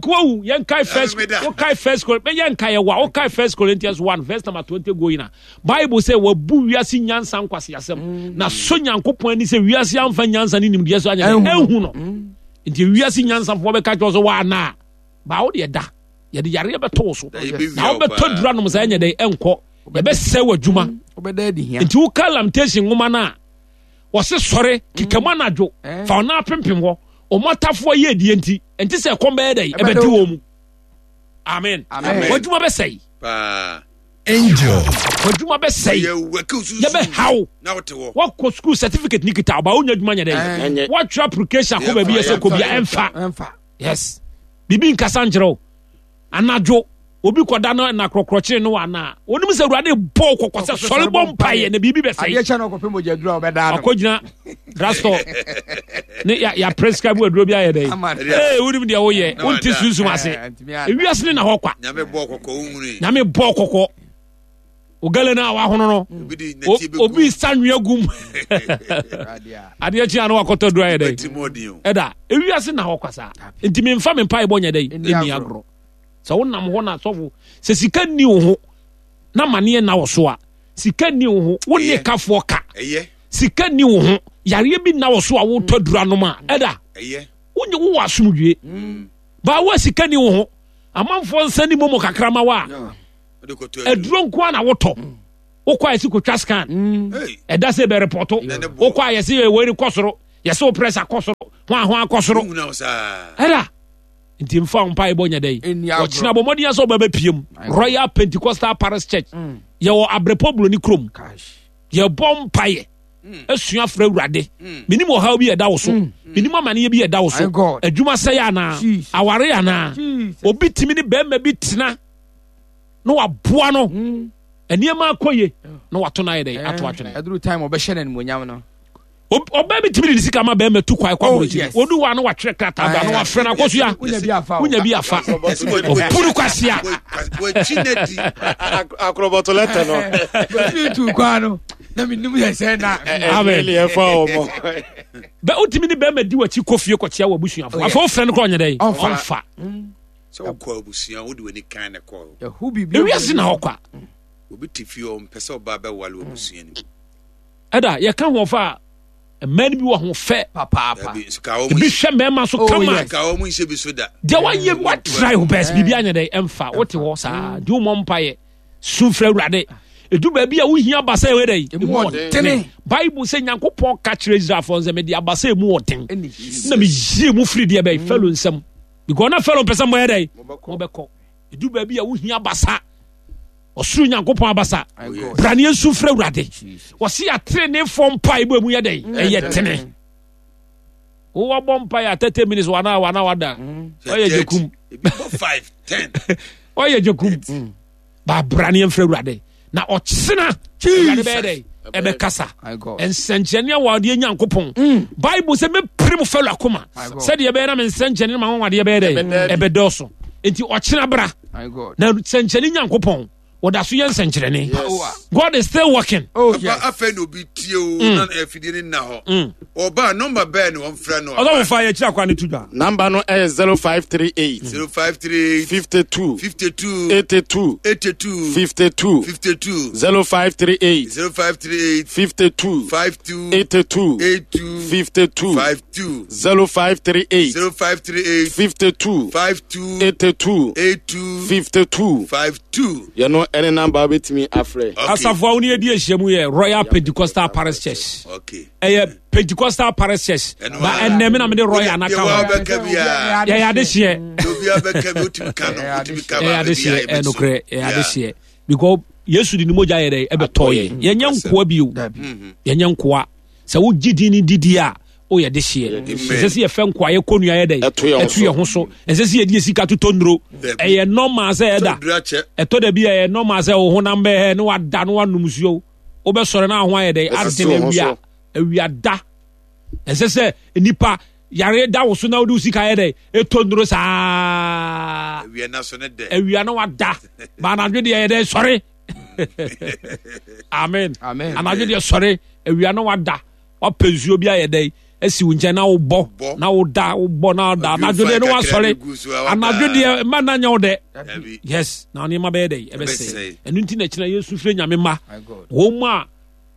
wawu yɛnkae first wokae first yɛnkae yɛwa wokae First Corinthians one verse number twenty going a Bible sɛ wabu wiase nyansa nkwaseasɛm mm. Na so Nyankopɔn ani sɛ wiase amfa nyansa ne nimdeɛ so anyɛ ɛnhu no mm. Nti wiase nyansafoɔ bɛka kyerɛ wo sɛ woana baa wo deɛ da yɛde yareɛ bɛto wo so na wobɛtɔ dura nom sɛ ɛnyɛ dɛn ɛnkɔ yɛbɛsɛe w'adwuma. Nti woka Lamentation nwoma no a Wɔse sɔre kekamu anadwo Eh. fa ɔna apempem hɔ. Ɔmɔtafoɔ yɛ adie nti ɛnti sɛ ɛkɔm bɛyɛ dɛ ɛbɛdi wɔ mu. Amen. Amen. W'adwuma bɛsɛe. Paa. Angel. W'adwuma bɛsɛe. Yɛ wɛkɛ susu. Yɛbɛhaw. Na wote hɔ. Wakɔ school certificate ni kita ɔba wonya adwuma nyɛ dɛ. Ɛnyɛ. Watwerɛ application akɔ baabi yɛ sɛ kɔ bia ɛmfa. Ɛmfa. Yes. Biribi nkasa nkyerɛ wo. Anadwo obi kɔda no na korɔkorɔkyere no anaa. Onim sɛ Awurade bɔ wo kɔkɔ sɛ sɔre bɔ mpaeɛ na biribi bɛsɛe. Adeɛ kyɛ na ɔkɔpɛ mogya duru a ɔbɛdaa no. Akɔgyina drugstore ne ya ya prescribe aduro bi ayɛ dɛ. Ama no. Ee wonim deɛ woyɛ Na wonte wada. sunsum ase. Eh, ntumi ada. Ewiase ne na hɔ kwa. Nyame bɔ kɔkɔ wo nwuni. Nyame bɔ kɔkɔ. Ogale no a wahono no. Obi de o- n'akyi bɛgu. Obi sa nwea gum. Awurade a. Adeɛ kye a na wakɔtɔ aduro ayɛ dɛ. Bɛti mu ɔden o. Ɛda ewiase na hɔ kwa saa. Nti memfa me mpaebɔ nyɛ dɛ Ɛnni ɛnni agorɔ. agorɔ. Sɛ wonam hɔ na sɔfo sɛ sika nni wo ho na maneɛ na wo so a sika nni wo ho wo ne Ɛyɛ. kafoɔ ka Ɛyɛ. sika nni wo ho yareɛ bi na wo so a wotɔ dura nom a ɛda Ɛyɛ. wonye wowɔ asomdwie baa wo a sika nni wo ho amanfoɔ nsa ni momo kakra ma wo a Wode kɔtɔ aduro. aduro nko a na wotɔ wokɔ a yɛsi kotwa scan Hey. ɛda sɛ bɛrepɔto Na ne bo. wokɔ a yɛsi wei kɔ soro yɛsɛ wo pressure kɔ soro ho a ho akɔ soro Wohunu wo saa. ɛda nti mfa wo mpaebɔ nyɛ dɛ Ɛnni agorɔ. ɔkyena bɔ mmɔden sɛ wobɛbɛpie mu Royal Pentecostal Parish Church yɛwɔ Abrepɔ Buroni kurom Cash. yɛbɔ mpaeɛ asua frɛ Awurade menim ɔhaw bi ɛda wo so menim amanneɛ bi ɛda wo so My God. adwuma sɛe anaa Jesus. aware anaa Jesus. obi tumi ne bɛrima bi tena na waboa no nneɛma akɔ ye na wato no ayɛ dɛ ato atwene Ɛduru time ɔbɛhyɛ no animuonyam no. Ob- ɔbaa bi tumi de ne sika ma bɛrima tu kwae kɔ Oh, aborɔkyiri yes. odu hɔ a na watwerɛ krataa ba na wafrɛ no akɔsua Wonya bi afa o. wonya bi afa ɔpuru kwasea Wɔakyi n'adi. Akorɔbɔtɔ lɛtɛ no. Bɛfiri tu kwan no na menim yɛ sɛ na. Amen. Ɛne ɛfa wɔn. bɛ wotumi ne bɛrima di w'akyi kɔ fie kɔkyea w'abusuafoɔ Oh, yes. afei wofrɛ no kɔ ɔnyɛ dɛn Ɔmfa. ɔmfa Sɛ wokɔ abusua wode w'ani kan na kɔ. Yɛho biribi. ewiase na hɔ kwa Obi te fie ɔmpɛ sɛ ɔbaa bɛwale wɔ abusua no mu. ɛda yɛka ho ɔfa a mmaa no bi wɔ ho fɛ Papaapa. Dabi, nso ka wɔn ebi nhyɛ- hwɛ mmarima so Oh, kama yes. ka wɔn nhyɛ bi so da. deɛ wayɛ watry wo best biribi anyɛ dɛn ɛmfa wote hɔ saa nti wommɔ mpayɛ su frɛ Awurade ɛdu baabi a wohia abasa ɛwɛ dɛn Emu ɔdene. Bible sɛ Nyankopɔn ka kyerɛ Israelfoɔ sɛ mede abasa emu ɔden Ɛne na meyie mu firi deɛ bɛyi Farao nsɛm because na Farao mpɛ sɛ moyɛ dɛn mobɛkɔ ɛdu baabi a wohia abasa ɔsoro Nyankopɔn abasa My God. braneɛ nsu frɛ Awurade Jesus. wɔse atenenefoɔ mpaebɔ mu yɛ dɛn ɛyɛ tene wowɔ bɔ mpaeɛ a thirty minutes wana wana wada ɔyɛ gyekum Ebi bɔ five, ten. ɔyɛ gyekum baabraneɛ mfrɛ Awurade na ɔkyena Awurade bɛyɛ dɛn ɛbɛkasa My God. nsɛnkyerɛnne a wɔde Nyankopɔn Bible sɛ mɛpere mu Farao akoma My God. sɛdeɛ ɛbɛyɛ na me nsɛnkyerɛnne no ma wanwadeɛ bɛyɛ dɛn ɛbɛdɔɔso enti ɔkyena bra My God. na nsɛnkyerɛnne Nyankopɔn wɔda so yɛ nsɛnkyerɛnne. Power. God is still working. Oh, Papa yes. afei na obi tie o na afidie ne nna hɔ. Ɔbaa nɔmba bɛɛ na wɔmfrɛ no. Ɔsɔfo fa yɛkyerɛ akwa ne to dwa. Number no ɛyɛ zero five three eight Zero five three eight fifty two fifty two eighty two eighty two fifty two fifty two zero five three eight zero five three eight fifty two five two eighty two eight two fifty two five two zero five three eight zero five three eight fifty two five two eighty two eight two fifty two five two. yɛno ɛne number wobɛtumi afrɛ. Okay. Asafo a wo ne yɛdi ahyia mu yɛ Royal Pentecostal Parish Church. Okay. Ɛyɛ Pentecostal Parish Church Ɛno ba ara. ɛnɛ me na mede Royal anaka Deɛ ho. wɔbɛka biara. Yɛyɛ adehyeɛ. Deɛ obiara bɛka bi wotumi ka no wotumi ka Ɛyɛ baako adehyeɛ biara ɛyɛ yɛbɛto. nokorɛ ɛyɛ Yeah. adehyeɛ because Yesu de ne mogya yɛ dɛ ɛbɛtɔ yɛ yɛnyɛ nkoa bio. Dabi. Yɛnyɛ nkoa sɛ wogye din ne didi a woyɛ dehyeɛ. Ɛnsɛ sɛ yɛfɛ nkoa yɛ kɔnua yɛ dɛ Ɛto yɛn ho ɛto yɛn ho so. Ɛnsɛ sɛ yɛde yɛ sika totɔ nnuro. Dabi. Ɛyɛ normal sɛ ɛda Sɛ oduru akyɛ. ɛtɔ da bi a ɛyɛ normal sɛ wo honam bɛhɛ ne wada ne wanom nsuo wobɛsɔre na ho ayɛ dɛ Ɛsisi adene wo ho awia so. awia da. Ɛnsɛ sɛ nipa yare da wo so na wode wo sika yɛ dɛ ɛtɔ nnuro saa. Awia na so ne dɛ. Awia na wada ba anadwo deɛ yɛ dɛ sɔre. Amen. Amen. Anadwo deɛ sɔre awia na wada wapɛ nsuo bi ayɛ dɛ asi wo nkyɛn na wobɔ Bɔ. na woda wobɔ na woda. Ɔduru Anadwo deɛ ne fa kakra wasɔre. bi gu so a wada. Anadwo deɛ mma na nyɛ wo dɛ. Dabi. Yes, na nneɛma bɛyɛ dɛ ɛbɛsɛe. Ɛbɛsɛe. Ɛno nti na kyerɛ yɛsu frɛ Nyame ma My God. wɔn mu a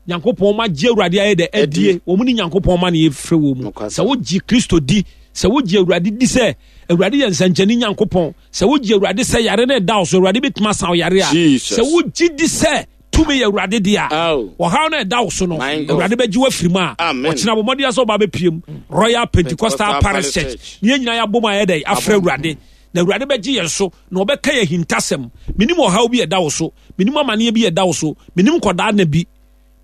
Nyankopɔn ma gye Awurade ayɛ dɛ adie wɔn mu ne Nyankopɔn ma ne yɛfrɛ wɔ mu. Nokwasɛm. Sɛ wogye Kristo di sɛ wogye Awurade di sɛ Awurade yɛ nsɛnkyɛnne Nyankopɔn sɛ wogye Awurade sɛ yare no ɛda wo so Awurade bɛtumi asan wo yare a Jesus. sɛ wogye di sɛ Tumi yɛ Awurade deɛ a, Ao. ɔhaw no ɛda wo so no, My God. Awurade bɛgye wo afiri mu a, Amen. ɔkyena bɔ mmɔden sɛ ɔba bɛpiem Royal Pentecostal Pentecostal Parish Parish Church. Church. Ne yɛn nyinaa yɛabɔ mu ayɛ dɛ afrɛ Awurade, na Awurade bɛgye yɛn so na ɔbɛka yɛn hintasɛm. Menim ɔhaw bi a ɛda wo so, menim amanneɛ bi a ɛda wo so, menim nkɔdaa na bi,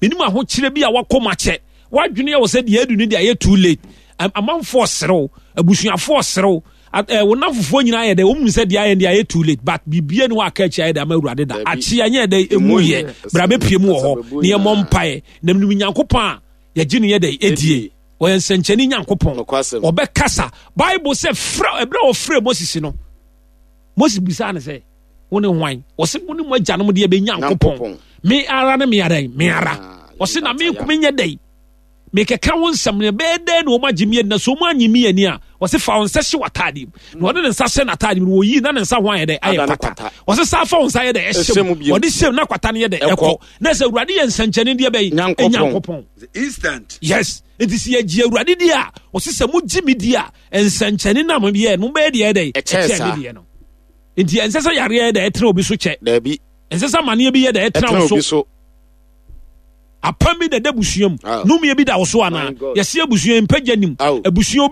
menim ahokyerɛ bi a wakɔ mu akyɛ wadwene yɛ wɔ sɛ deɛ adu no deɛ ayɛ too late. Am- amanfoɔ serew, abusuafoɔ serew, a- eh, wo namfofoɔ nyinaa yɛ dɛ wɔn mu sɛ deɛ ayɛ deɛ ayɛ too late, but biribiara ni hɔ a aka akyi ayɛ dɛ ama Awurade da. Dabi. Akyi anyɛ dɛ emu Emu yɛ yɛ. bra bɛpie mu wɔ hɔ Asababu ne yɛmmɔ nyinaa. mpaeɛ na menim Nyankopɔn a yɛgye ne yɛ dɛ ɛdie. Ɛdie. Ɔyɛ nsɛnkyɛnne Nyankopɔn. Nokwasɛm. Ɔbɛkasa. Bible sɛ frɛ, ɛberɛ a ɔfrɛ Moses no, Moses bisaa ne sɛ, "Wo ne hwan?" Ɔse, "Wo ne mo agyanom deɛ bɛnya Nyankopɔn." Nyankopɔn. Me ara ne me ara yi, me ara. Ah, Ɔse, "Na me yɛbata menyɛ dɛn mekɛka wo nsɛm no, ɛbɛyɛ dɛn na ɔma gye me ani? Na sɛ ɔma anye me ani a?" Ɔse, "Fa wo nsa hyɛ w'atadeɛ mu." Na ɔde ne nsa hyɛ n'atadeɛ mu no, wɔyii na ne nsa ho ayɛ dɛ ayɛ Ada ne kwata. kwata. Ɔse, "Saa fa wo nsa yɛ dɛ ɛhyɛ Ɛhyɛ mu." mu bio. Ɔde hyɛ mu na kwata no yɛ dɛ Ɛkɔ. ɛkɔ. Na sɛ Awurade yɛ nsɛnkyɛnne deɛ bɛyi Nyankopɔn. Nyankopɔn. Instant. Yes, nti sɛ yɛgye Awurade di a, ɔse sɛ mogye me di a, nsɛnkyɛnne na moyɛ no mobɛyɛ deɛ ɛdɛ Ɛkyɛɛ saa. me deɛ no. Nti ɛnsɛ sɛ yareɛ yɛ dɛ ɛtena obi so kyɛ. Dabi. Ɛnsɛ sɛ amanneɛ bi yɛ dɛ ɛtena Ɛtena wo obi so. so. Apam bi da da abusua mu Ah. numie bi da wo so anaa? My God. Yɛse abusua yi mpagya nim Aw. abusua.